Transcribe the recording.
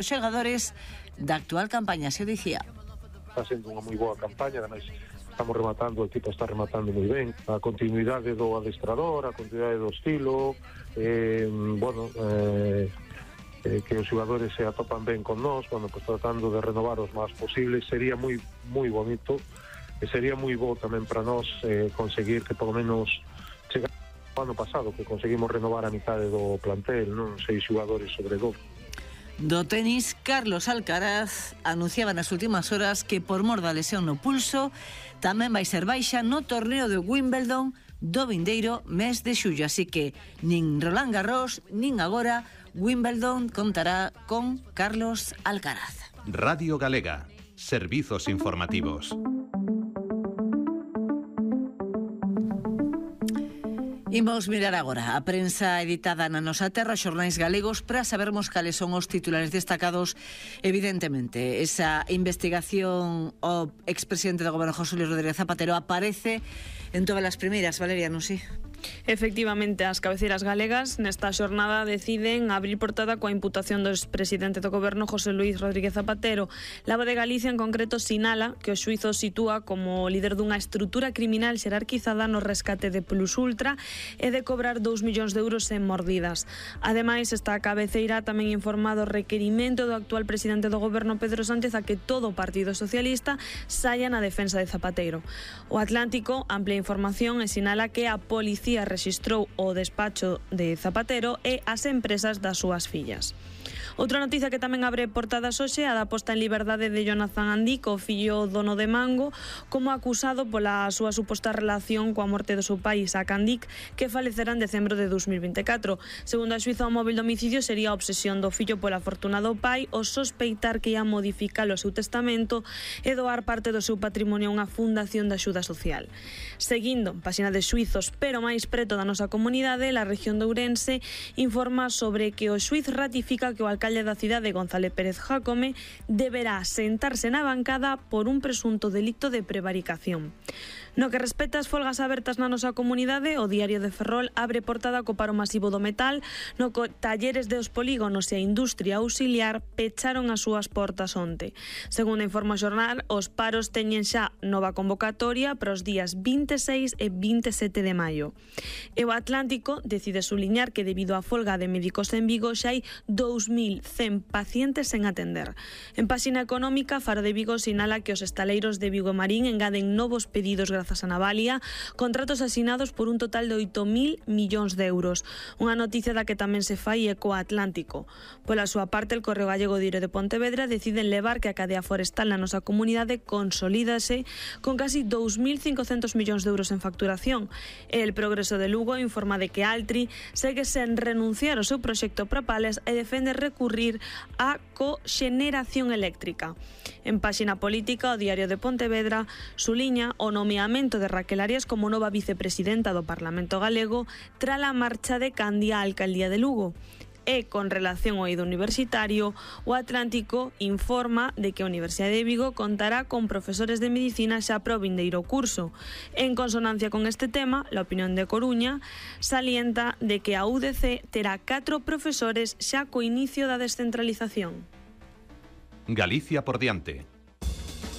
Os xogadores da actual campaña, se o dicía. Está sendo unha moi boa campaña, ademais estamos rematando, o equipo está rematando moi ben. A continuidade do adestrador, a continuidade do estilo, que os xogadores se atopan ben con nós, pues, tratando de renovar os máis posibles, sería moi bonito, e sería moi bo tamén para nós conseguir que polo menos chegar ao ano pasado, que conseguimos renovar a mitade do plantel, non? 6 xogadores sobre 2. Do tenis, Carlos Alcaraz anunciaba nas últimas horas que por mor da lesión no pulso tamén vai ser baixa no torneo de Wimbledon do vindeiro mes de xullo, así que nin Roland Garros nin agora Wimbledon contará con Carlos Alcaraz. Radio Galega, servizos informativos. Imos mirar agora a prensa editada na nosa terra, xornais galegos, para sabermos cales son os titulares destacados. Evidentemente, esa investigación ao expresidente do goberno José Luis Rodríguez Zapatero aparece en todas as primeiras, Valeria, non si? Efectivamente, as cabeceiras galegas nesta xornada deciden abrir portada coa imputación do expresidente do goberno José Luis Rodríguez Zapatero. La Voz de Galicia en concreto sinala que o xuízo sitúa como líder dunha estrutura criminal xerarquizada no rescate de Plus Ultra e de cobrar 2 millóns de euros en mordidas. Ademais, esta cabeceira tamén informa do requerimento do actual presidente do goberno Pedro Sánchez a que todo o Partido Socialista saia na defensa de Zapatero. O Atlántico amplia información e sinala que a policía rexistrou o despacho de Zapatero e as empresas das súas fillas. Outra noticia que tamén abre portadas hoxe é a da posta en liberdade de Jonathan Andic, o fillo dono de Mango, como acusado pola súa suposta relación coa morte do seu pai, Isaac Andic, que falecerá en decembro de 2024. Segundo a xuíza, o móvil do homicidio sería a obsesión do fillo pola fortuna do pai, o sospeitar que ia modificar o seu testamento e doar parte do seu patrimonio a unha fundación de axuda social. Seguindo, páxina de xuizos, pero máis preto da nosa comunidade, a región de Ourense informa sobre que o xuiz ratifica que o alcalde da cidade, González Pérez Jácome, deberá sentarse na bancada por un presunto delito de prevaricación. No que respecta ás folgas abertas na nosa comunidade, o Diario de Ferrol abre portada co paro masivo do metal, no que talleres dos polígonos e a industria auxiliar pecharon as súas portas onte. Segundo informa o xornal, os paros teñen xa nova convocatoria para os días 26 e 27 de maio. E o Atlántico decide suliñar que debido á folga de médicos en Vigo xa hai 2.100 pacientes sen atender. En páxina económica, Faro de Vigo sinala que os estaleiros de Vigo e Marín engaden novos pedidos grazas a Navalia, contratos asinados por un total de 8.000 millóns de euros. Unha noticia da que tamén se fai eco Atlántico. Pola súa parte, el Correo Gallego Diario de Pontevedra deciden levar que a cadea forestal na nosa comunidade consolídase con casi 2.500 millóns de euros en facturación. El Progreso de Lugo informa de que Altri segue sen renunciar ao seu proxecto para Pales e defende recurrir á coxeneración eléctrica. En páxina política, o Diario de Pontevedra suliña o nomeamento de Raquel Arias como nova vicepresidenta do Parlamento Galego tras a marcha de Candia á alcaldía de Lugo. E, con relación ao eido universitario, o Atlántico informa de que a Universidade de Vigo contará con profesores de medicina xa para o vindeiro curso. En consonancia con este tema, a opinión de Coruña salienta de que a UDC terá 4 profesores xa co inicio da descentralización. Galicia por diante.